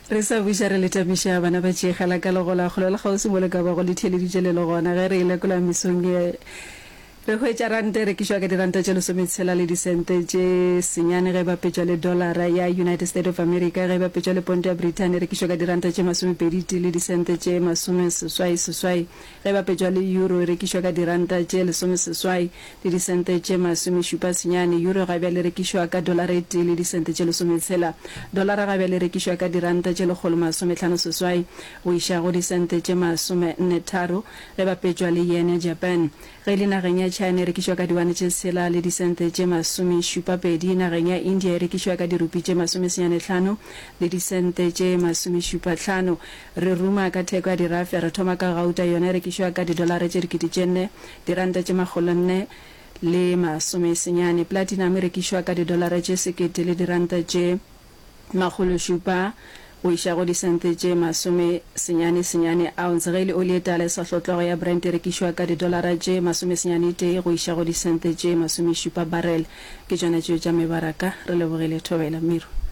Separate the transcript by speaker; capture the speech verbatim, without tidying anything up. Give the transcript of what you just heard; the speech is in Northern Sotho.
Speaker 1: Re sa buša re le tamiša bana ba tšeegela ka legola kgole le kgauswi mo le ka bago le theeleditše le le gona. Ge re e lekola mesong ye, re hwetša ranta e rekišwa ka diranta tše lesometshela le disente tše senyane ge e bapetšwa le dolara ya United State of America. Ge e bapetšwa le ponto ya Brithani e rekišwa ka diranta tše masomepedi tee le disente tše masomeseswai seswai. Ge e bapetšwa le euro e rekišwa ka diranta tše lesomeseswai le disente tše masomešupa senyane. Euro ga bjale e rekišwa ka dolara e tee le disente tše lesometshela. Dolara ga bjale e rekišwa ka diranta tše lekgolo masomehlano seswai go iša go disente tše masomenne tharo ge e bapetšwa le yen ya Japan. Ge e le nageng ya China e rekišwa ka diwane tše tshela le disente tše masomešupa pedi. Nageng ya India e rekišwa ka dirupi tše masomesenyane hlano le disente tše masomešupa hlano. Re ruma ka theko ya dirafe, re thoma ka gauta, yona e rekišwa ka didolara tše dikete tše nne, diranta tše makgolonne le masomesenyane. Platinum e rekišwa ka didolara tše sekete le diranta tše makgološupa go iša go disente tše masome senyane senyane ounce. Ge e le oli e tala e sa hlotlwago ya Brent e rekišwa ka didolara tše masome senyane tee go iša go disente tše masomešupa barrel. Ke tšona tšeo tša mebaraka. Re lebogile. Thobela. Miro.